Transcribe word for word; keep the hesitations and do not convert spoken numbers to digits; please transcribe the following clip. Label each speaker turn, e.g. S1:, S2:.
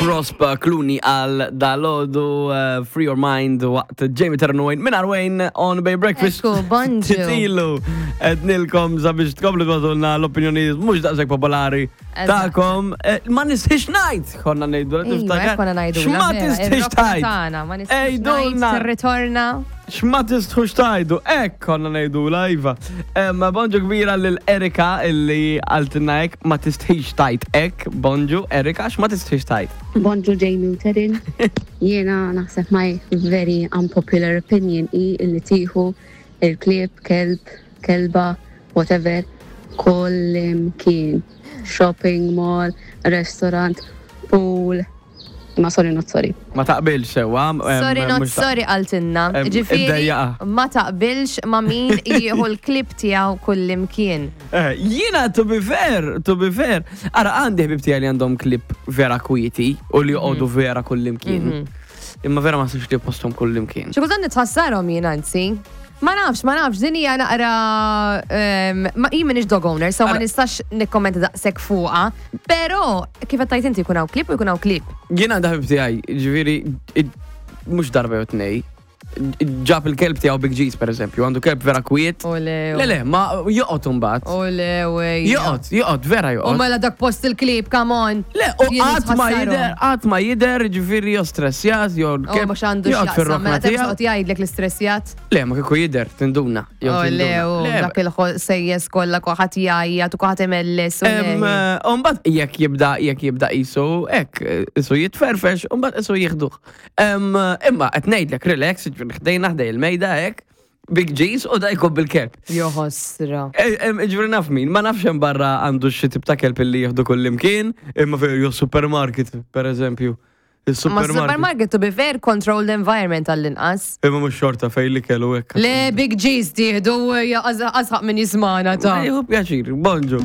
S1: Prosper Clooney għal dalgħodu uh, Free Your Mind waqt Jamie Tarun Wayne minn Wayne on Bay Breakfast.
S2: Ekku, bonġu.
S1: Titilu, etnilkom sabiex tkomplu tibagħtulna l-opinjoni mhux daqshekk popolari
S2: Eżatt.
S1: tagħkom. Eh, Ma nistħix ngħid, konna ngħidu,
S2: Iva,
S1: tiftakar?
S2: konna ngħidu.
S1: X'ma tistħix tgħid?
S2: Ma nistħix ngħid,
S1: Ejdulna.
S2: tirritorna.
S1: X'ma tistħux tgħidu, hekk konna ngħidu lajva. Ma bonġu kbira lil Erika illi qaltilna hekk, ma tistħix tgħid hekk, bonġu Erika, x'ma tistħix tgħid?
S3: Bonġu Jamie u Terin. Jiena naħseb my very unpopular opinion i illi tieħu il-klieb, kelb, kelba, whatever, kullimkien. Shopping mall, restaurant, pool. Ma sorry, not sorry.
S1: Ma taqbilx sewa. em,
S2: Sorry, not
S1: mhux ta-
S2: sorry qaltilna.
S1: Em,
S2: Ġifieri,
S1: iddejjaqa.
S2: ma taqbilx ma min jieħu l-klieb tiegħu kullimkien.
S1: Eh, Jiena, to be fair, to be fair. Ara, għandi ħbib tiegħi li għandhom klieb vera kwieti u li joqogħdu vera kullimkien. Imma vera ma sibx li postom kullimkien.
S2: Xi kultant nitħassarhom jien anzi. Ma nafx, ma nafx, din hija naqra em, ma jien m'iniex dog owner, so ma
S1: Ara.
S2: nistax nikkommenta daqshekk fuqha, però kif qed tgħid inti jkun hawn klieb u jkun hawn klieb.
S1: Jiena għandi ħbib tiegħi, ġifieri, mhux darba jew tnej, ġab il-kelb tiegħu Big G's per eżempju, għandu kelb vera kwiet.
S2: Ole,
S1: Le, le, ma joqgħod imbagħad.
S2: Ole, wej.
S1: Joqgħod, joqgħod, vera
S2: U
S1: joqgħod.
S2: mela dak post il-klieb, come on.
S1: Le, u
S2: Jien
S1: qatt ma
S2: nitħassarhom.
S1: jidher, qatt ma jidher, ġifieri jew stressjat, jew
S2: U
S1: l-kelb.
S2: mhux għandu
S1: joqgħod
S2: x'jaqsam,
S1: fir-rokna
S2: mela
S1: tiegħu.
S2: tibqa' jgħidlek l-istressjat.
S1: Le, ma kieku jidher, tinduna. Jew
S2: O le,
S1: tinduna.
S2: u
S1: Le,
S2: dak il-sejjes kollha kulħadd jgħajjat u kulħadd imellis. u
S1: Em,
S2: le.
S1: eh, Umbagħad jekk jibda jekk jibda isu hekk, isu jitferfex, umbagħad isu jieħduh. Em, Imma qed ngħidlek relax, ġifieri ħdejna ħdej il-mejda hekk, Big G's u da jkun bil-kelb.
S2: Joħosra.
S1: Eh, em, Ġifieri naf min, ma nafx hemm barra għandu xi tip ta' kelb li jieħdu kullimkien, imma fejn jew supermarket, per eżempju.
S2: Ma
S1: Il-supermarket.
S2: supermarket, to be fair, controlled environment għall-inqas.
S1: Imma mhux xorta fejn li kellu hekk.
S2: Le, Big G's tieħdu, għazħaq minn jismana ta'
S1: Jieħu pjaċir, bonġu.